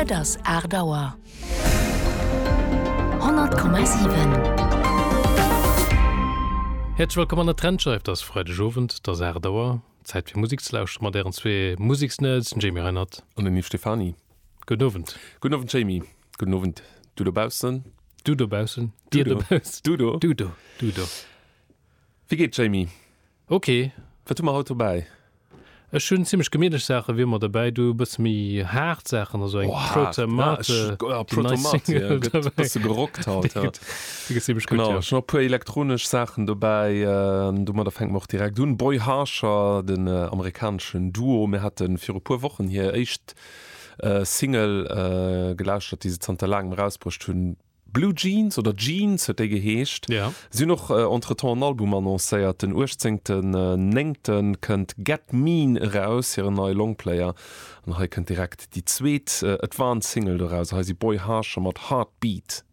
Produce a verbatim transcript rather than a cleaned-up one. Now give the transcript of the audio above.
Et ass aacht Auer. Honnert Komma siwen. Häerzlech wëllkomm an der Trendscheif. Et ass Freidegowend, et ass aacht Auer. Zäit fir Musek ze lauschteren mat ären zwee Museksnerds, den Jamie Reinert. An den Yves Stephany. Gudden Owend. Gudden Owend Jamie. Gudden Owend du dobaussen. Du dobaussen. Dir dobaussen. Du do. Du do. Du do. Wéi geet Jamie? Ok. Wat hu mer haut dobäi? Ech hunn zimmlech gemittlech Saache wéi ëmmer dobäi, du e bësse méi haart Saachen, also eng Oh, haart. Protomate, Ja, ech, ja, déi nei Protomate, Single ja, gëtt dobäi. bësse gerockt haut, Déi ja. gëtt, déi gëtt zimmlech gutt, Genau, ja. ech hunn och e puer elektronesch Saachen dobäi. An domadder fänke mer och direkt un. Boy Harsher, den amerikaneschen Duo, mir hate viru puer Wochen hir éischt Single gelauschtert, déi se zanter laangem erausbruecht hunn. Blue Jeans oder Jeans huet déi geheescht. Ja. Si hunn och entretemps en Album annoncéiert. Den uechtzéngten Néngten kënnt Get Mean eraus, hiren neie Longplayer. An hei kënnt direkt déi zweet Advance Single doraus. Hei si Boy Harsher mat Heartbeat.